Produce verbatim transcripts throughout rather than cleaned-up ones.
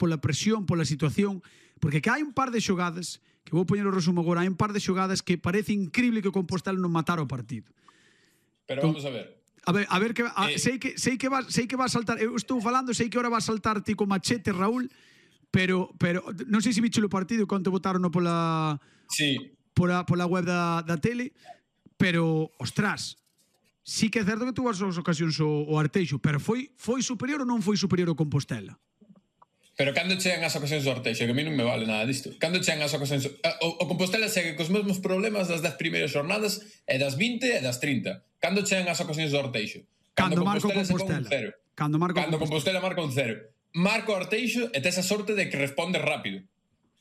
pola presión, pola situación, porque que hai un par de xogadas, que vou poñer o resumo agora, hai un par de xogadas que parece increíble que o Compostela non matara o partido. Pero vamos a ver. A ver, a ver que a, eh, sei que sei que va sei que va a saltar, eu estou falando, sei que ahora va a saltar ti con machete, Raúl, pero pero non sei se bicho o partido quanto votaron pola Sí. pola pola web da da tele, pero ostras, sí que é certo que tuvo as ocasións o, o Arteixo, pero foi foi superior ou non foi superior o Compostela? Pero cando chegan as ocasións do Arteixo, que a mí non me vale nada disto. Cando chegan as ocasións... O, o Compostela segue cos mesmos problemas das dez primeiras xornadas e das vinte e das trinta. Cando chegan as ocasións do Arteixo? Cando, cando marca o Compostela. Cero. Cando marca cando o Compostela. Compostela marca un cero. Marca o Arteixo e tes a sorte de que responde rápido.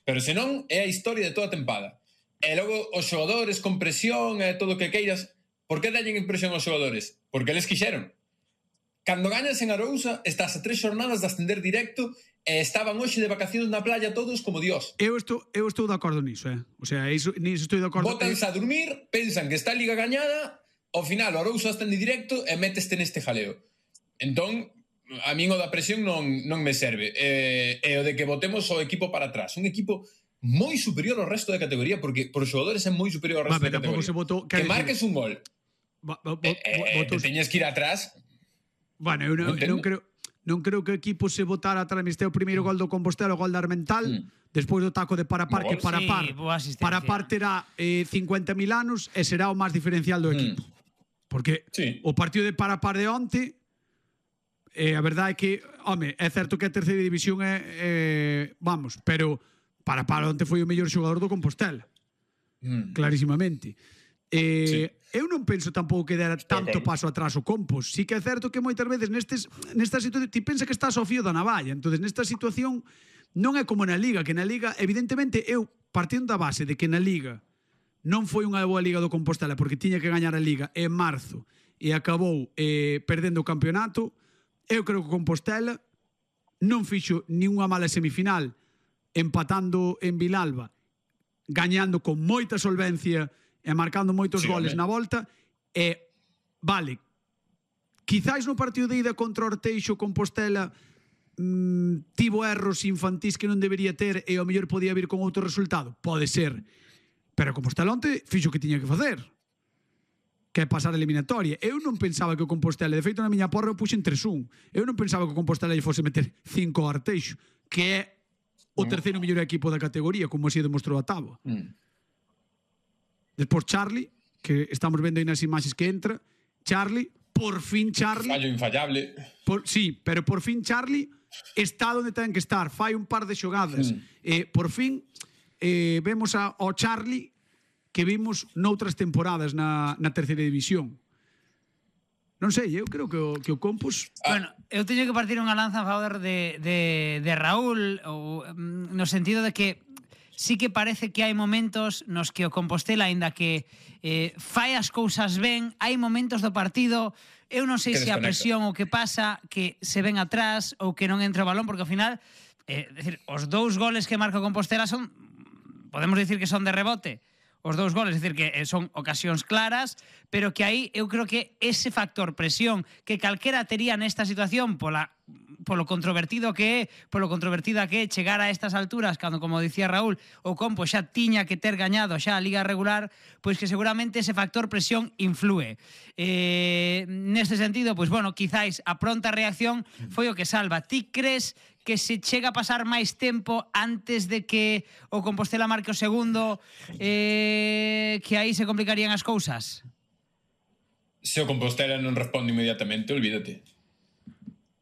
Pero senón é a historia de toda a tempada. E logo os xogadores con presión e todo o que queiras... Por que dallen impresión aos xogadores? Porque eles quixeron. Cando gañas en Arousa, estás a tres xornadas de ascender directo e estaban hoxe de vacacións na playa todos como Dios. Eu estou, eu estou de acordo niso, eh? O sea, iso, niso estou de acordo. Bótanse a dormir, pensan que está a Liga gañada, ao final o Arousa ascende directo e meteste neste jaleo. Entón, a min o da presión non, non me serve. E, e o de que botemos o equipo para atrás. Un equipo moi superior ao resto da categoría, porque por xogadores é moi superior ao resto Va, da categoría. Se votó, que marques un gol. Va, va, va, e, e, te teñes que ir atrás. Bueno, eu non, non creo non creo que o equipo se votara atrás. Este o primeiro gol do Compostela, o gol da Armental, mm. despois do taco de Parapar, que Parapar sí, Parapar terá eh, cincuenta mil anos e será o máis diferencial do equipo. Mm. Porque sí. o partido de Parapar de onte, eh, a verdade é que, home, é certo que a terceira división é, eh, vamos, pero Parapar onte foi o mellor xogador do Compostela. Mm. Clarísimamente. Eh, sí. Eu non penso tampouco que dera tanto okay. paso atrás o Compos. Sí que é certo que moitas veces nestes, nesta situación ti pensa que estás ao fío da navalla. Entonces nesta situación non é como na Liga, que na Liga evidentemente eu partindo da base de que na Liga non foi unha boa Liga do Compostela porque tiña que gañar a Liga en marzo e acabou eh, perdendo o campeonato. Eu creo que o Compostela non fixo ninguna mala semifinal empatando en Vilalba, gañando con moita solvencia e marcando moitos sí, goles na volta. E, vale, quizáis no partido de ida contra o Arteixo, Compostela mmm, tivo erros infantís que non debería ter e ao mellor podía vir con outro resultado. Pode ser. Pero Compostela onte fixo o que tiña que facer, que é pasar a eliminatoria. Eu non pensaba que o Compostela, de feito na miña porra eu puxen tres un, eu non pensaba que o Compostela lle fose meter cinco ao Arteixo, que é o terceiro mellor equipo da categoría, como así demostrou a Táboa. Mm. Despois Charlie, que estamos vendo aí nas imaxes que entra, Charlie, por fin Charlie... Fallo infallable. Por, sí, pero por fin Charlie está onde ten que estar, fai un par de xogadas. Mm. Eh, por fin eh, vemos a, ao Charlie que vimos noutras temporadas na, na terceira división. Non sei, eu creo que o, que o Compos... Ah. Bueno, eu teño que partir unha lanza a favor de, de, de Raúl, ou, no sentido de que sí que parece que hai momentos nos que o Compostela, aínda que eh, fai as cousas ben, hai momentos do partido, eu non sei se a presión o que pasa, que se ven atrás ou que non entra o balón, porque ao final, eh, decir, os dous goles que marca o Compostela son, podemos dicir que son de rebote, os dous goles, é dicir, que son ocasións claras, pero que aí eu creo que ese factor presión que calquera tería nesta situación pola polo controvertido que é, polo controvertida que é chegar a estas alturas, cando, como dicía Raúl, o Compo xa tiña que ter gañado xa a Liga regular, pois que seguramente ese factor presión influe. Eh, neste sentido, pois bueno, quizáis a pronta reacción foi o que salva. Ti crees que se chega a pasar máis tempo antes de que o Compostela marque o segundo, eh, que aí se complicarían as cousas? Se o Compostela non responde inmediatamente, olvídate.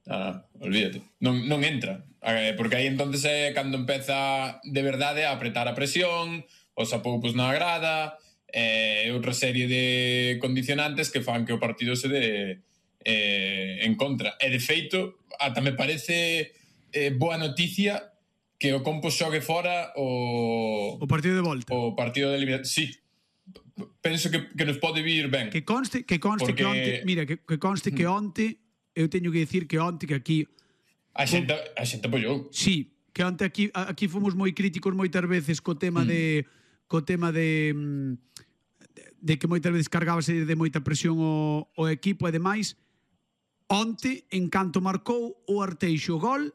Ah, olvídate. Non, non entra. Eh, porque aí entonces é cando empeza de verdade a apretar a presión, os apoupos na grada, e eh, outra serie de condicionantes que fan que o partido se dé eh, en contra. E de feito, ata me parece eh, boa noticia que o Compos xogue fora o... O partido de volta. O partido de eliminación. Sí. Penso que, que nos pode vir ben. Que conste que, conste porque... que onte... Mira, que, que conste que onte... Eu teño que dicir que onte que aquí... A xente, a xente apoiou. Sí, que onte aquí, aquí fomos moi críticos moitas veces co tema mm. de... Co tema de... De que moitas veces cargábase de moita presión o, o equipo e demais. Onte, en canto marcou o Arteixo gol,